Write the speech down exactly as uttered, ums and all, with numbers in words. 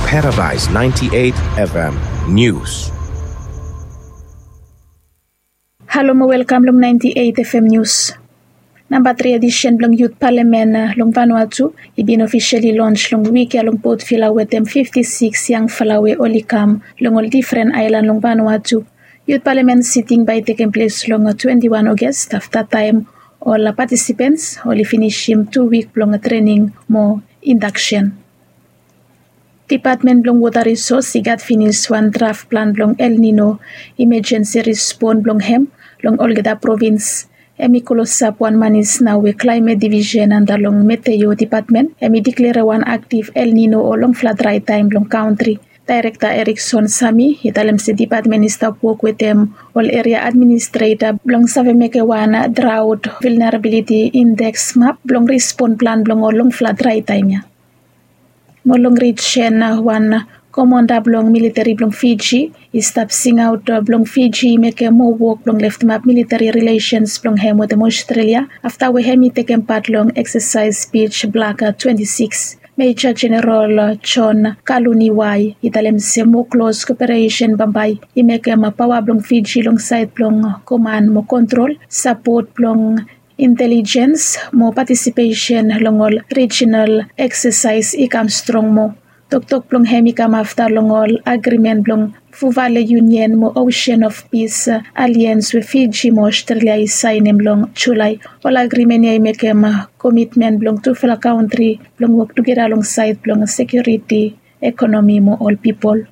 Paradise ninety-eight F M News. Halo mo welkam long ninety-eight F M News. Namba tri edisen blong Yut Palamen long Vanuatu i bin ofisali lons long wik ya long Port Vila wetem fifti sikis yangfala we oli kam long ol difren aelan long Vanuatu. Yut Palamen siting bae i tekem ples long twenti wan Oges afta taem ol patisipens oli finisim tu wik blong trening mo indaksen. Dipatmen blong Wota Risos i gat finis wan draf plan blong El Nino imajensi rispon blong hem long olgeta provins. Hem i klosap wan manis nao we Klaemet Divisen anda long Meteo Dipatmen hem i diklea wan aktiv El Nino o longfala drae taem blong kantri. Daerekta Erikson Sami i talem se dipatmen i stap wok wetem ol eria administreta blong save mekem wan draot vilnerabiliti indeks map blong rispon plan blong ol longfala drae taem ya. Mo long rijen wan komanda blong militeri blong Fiji i stap singaot blong Fiji i mekem moa wok blong leftemap militeri rilesens blong hem wetem Australia afta we hem i tekem pat long eksasaes Beach Black twenti sikis. Meja Jeneral John Kaluniwai i talem se moa klos koperesen bambae i mekem paoa blong Fiji long saed blong koman mo kontrol, sapot blong intelijens mo patisipesen long ol rijinal eksasaes i kam strong moa. Toktok blong hem i kam afta long ol agrimen blong Fuvale Yunion mo Ocean of Peace Alliance we Fiji mo Australia i saenem long Julae. Ol agrimen ya i mekem komitmen blong tufala kantri blong wok tugeta long saed blong sekiuriti, ekonomi mo ol pipol.